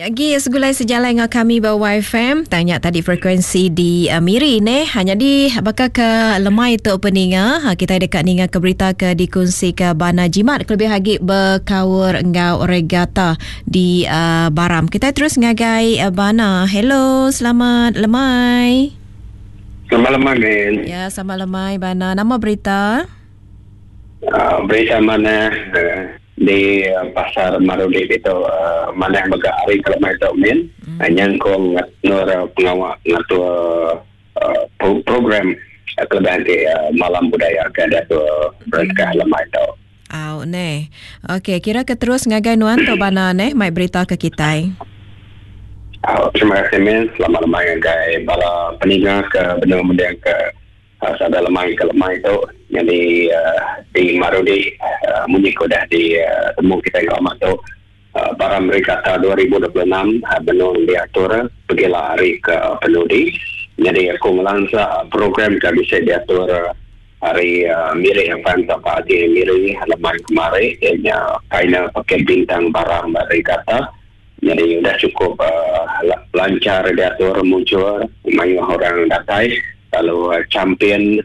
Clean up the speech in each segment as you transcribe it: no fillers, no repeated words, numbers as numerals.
Agi segulai sejalai enggau kami ba YFM. Tanya tadi frekuensi di uh, Miri neh. Ha, jadi baka ke lemai tu peninga, ha, kita deka ninga ke berita ke dikongsi ke Bana Jimat kelebih agi bekaur enggau regata di uh, Baram. Kita terus ngagai uh, Bana. Hello, selamat lemai. Selamat lemai, men. Ya, selamat lemai Bana. Nama berita? Uh, berita mana uh, di uh, pasar Marudi itu uh, mana mega hari kelemai tu min hmm. uh, nyangkung nur uh, pengawa ngatur uh, program uh, kelebihan di uh, malam budaya ke ada tu berengkah hmm. lemai tu. Au neh. Okey, kira ke terus ngagai nuan tu bana neh mai berita ke kitai. Au, terima kasih min. Selamat lemai ngagai bala peninga ke benung mending ke Sada lemai ke lemai tu nyadi di Marudi munyi ke udah ditemu kitai ngelama tu Baram Regatta 2026 benung diatur pegila hari ke penudi. Nyadi aku ngelansa program ke bisi diatur hari Miri FM tauka agi Miri lemai kemari iya nya final Paket Bintang Baram Regatta. Nyadi udah chukup lanchar diatur mujur mayuh orang datai lalu champion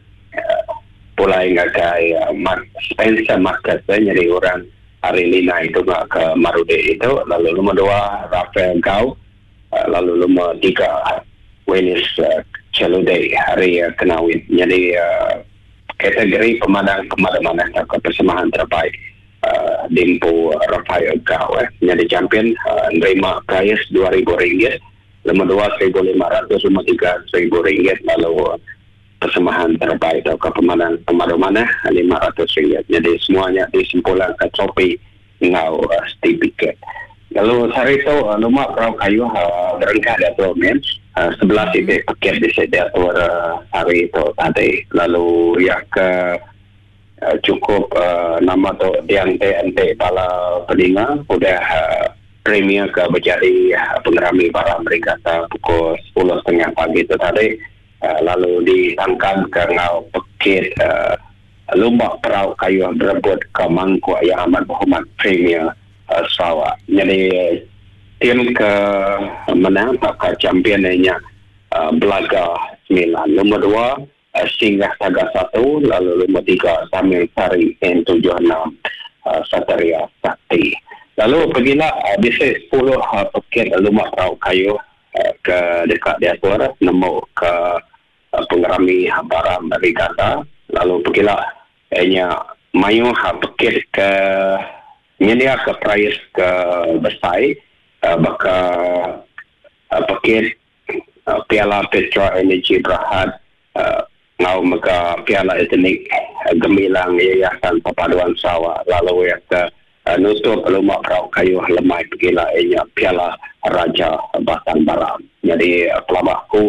pulai ngagai Mark Spencer Marcus nyadi orang ari Linai tunga ke Marudi itu lalu lumur dua Rafael Gau lalu lumur tiga Willis Cheludei ari Kenawit nyadi kategori pemadang pemadu manah tauka persembahan terbaik. Diempu Rafael Gau nyadi champion nerima perais 2000 ringgit, lumur dua 1500, lumur tiga 1000 ringgit lalu persembahan terbaik tauka pemanang pemadu manah 500 ringgit. Nyadi semua nya disempulangka trofi enggau setipiket. Lalu sehari tu luma perau kayuh berengkah diatur mih 11 iti pekit bisi diatur sehari tu tadi lalu iya ke Chukup nama tu dianti-anti bala peninga udah premier ke bejadi pengerami Baram Regatta pukul sepuluh setengah pagi tu tadi lalu ditangkanka enggau pekit lumba perau kayuh berebut ke mangkuk Yang Amat Berhormat Premier Sarawak. Nyadi tim ke menang tauka champion iya nya Belaga semilan. Lumur dua Singgah Saga satu lalu lumur tiga Samil Sari N76 Satria Sakti. Lalu pegila bisi sepuluh pekit lumba perau kayuh ke deka diatur nemu ke pengerami Baram Regatta lalu pegila iya nya mayuh pekit ke nyendiaka perais ke besai baka pekit Piala Petra Energy Berhad enggau mega Piala Etnik Gemilang Yayasan Perpaduan Sarawak lalu iya ke nutup lumba perau kayuh lemai pegila iya nya Piala Raja Batang Baram. Nyadi pelaba aku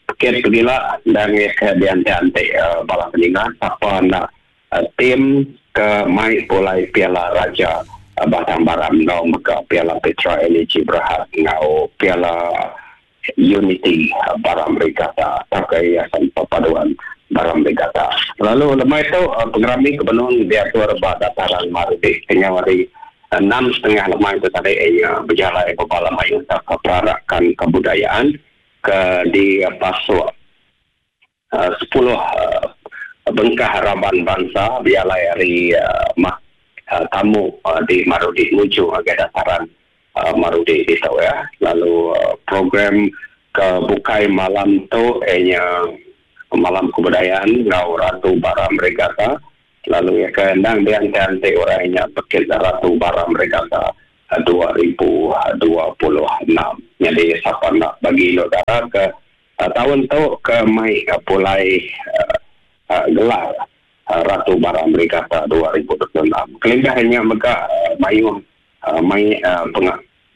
pekit pegila endang iya ke dianti-anti bala peninga sapa enda tim ke mai pulai Piala Raja Batang Baram enggau mega Piala Petra Energy Berhad enggau Piala Unity Baram Regatta tauka Yayasan Perpaduan Baram Regatta. Lalu lemai tu pengerami ke benung diatur ba Dataran Marudi kenyau hari enam setengah lemai tu tadi iya bejalai bebala mayuh tauka perarakan kebudayaan ke dipasuk sepuluh bengkah raban bansa bejalai ari mah tamu di Marudi nuju ngagai dataran Marudi ditu iya. Lalu program ke bukai malam tu iya nya Malam Kebudayaan enggau Ratu Baram Regatta lalu iya ke endang dianti-anti orang nya pekit Ratu Baram Regatta 2026. Nyadi sapa enda bagi indu dara ke Taun tu ke mai pulai gelar Ratu Baram Regatta 2026. Kelimpah ari nya mega mayuh mai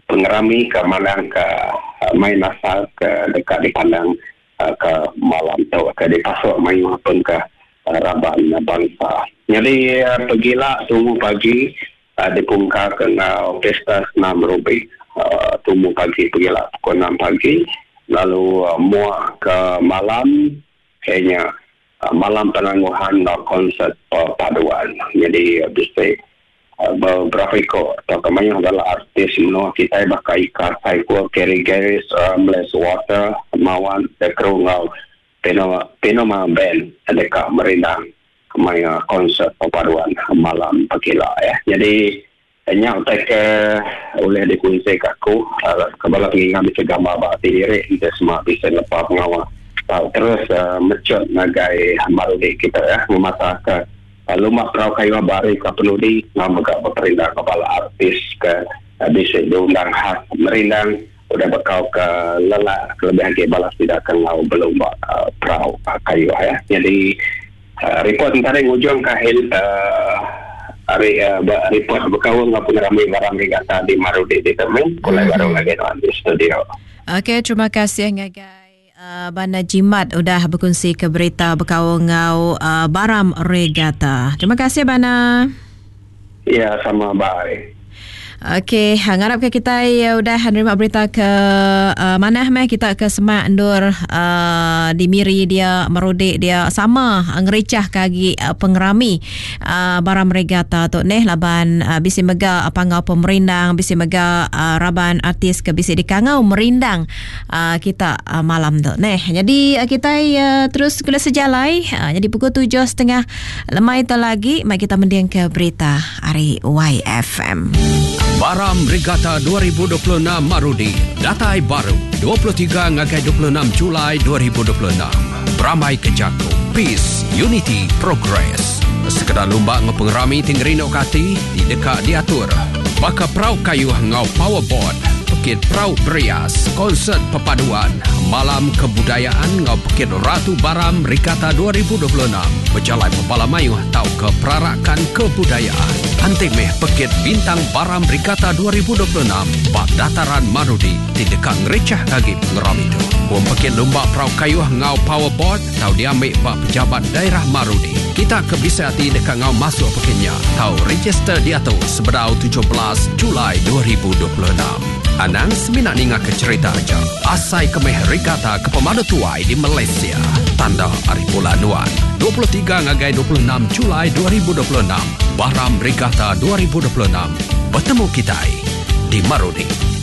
pengerami ke mandangka main asal ke deka dipandang ke malam tu ke dipasuk mayuh pengkah raban bansa. Nyadi pegila tumu pagi Dipungkaka enggau Pesta Senam Rubik tumu pagi pegila pukul enam pagi lalu mua ke malam iya nya malam penangguhan enggau konsert perpaduan. Nyadi bisi. Beberapa iko tauka mayuh bala artis menua kitai baka Ika Saiful, Kerry Garis, Ramles Walter, Mawan, The Crew enggau Pino Pinoma Band deka merindang maya konsert perpaduan malam pekila ya. Nyadi nya utai ke ulih dikunsi ka aku ke bala pengingat bisi gambar ba ati diri enti sema bisi ngepa pengawa tau terus mechut ngagai Marudi kita ya ngemata ka Lumba Perau Kayuh ba hari ke penudi enggau mega beperindang enggau bala artis ke bisi diundang khas merindang udah bekau ke lelak kelebih agi bala sida ke enggau belumba perau kayuh ya. Nyadi ripot entara ngujungka ari ripot bekaul enggau pengerami Baram Regatta di Marudi ditu mih pulai baru ngagai nuan di studio. Okey terima kasih ngagai Bana Jimat udah bekunsi ke berita bekaul enggau Baram Regatta. Terima kasih Bana. Ya sama bye. Okey, ngarap ke kitai udah nerima berita ke manah meh kita ke semak endur di Miri dia Merudi dia sama ngericah ke agi pengerami Baram Regatta tu neh laban bisi mega panggau pemerindang bisi mega raban artis ke bisi dikangau merindang kita malam tu neh. Jadi kitai terus guna sejalai jadi pukul 7.30 lemai tu lagi mai kita mending ke berita ari YFM. Baram Regatta 2026 Marudi datai baru 23 ngagai 26 Julai 2026. Berambai ke jaku Peace, Unity, Progress. Sekeda lumba enggau pengerami ti ngerinduka ati ti deka diatur baka perau kayuh enggau powerboat, pekit perau berias, konsert perpaduan, malam kebudayaan enggau pekit Ratu Baram Regatta 2026 bejalai bebala mayuh tauka perarakan kebudayaan. Anti meh pekit Bintang Baram Regatta 2026 ba Dataran Marudi ti deka ngerichah agi pengerami tu. Pom pekit lumba perau kayuh enggau powerboat tau diambi ba Pejabat Daerah Marudi. Kita ke bisi ati deka enggau masuk pekit nya tau register diatu sebedau 17 Julai 2026. Anang semina ninga ke cherita aja. Asai ke meh regatta ke pemadu tuai di Malaysia. Tanda ari bulan nuan. 23 ngagai 26 Julai 2026, Baram Regatta 2026. Betemu kitai di Marudi.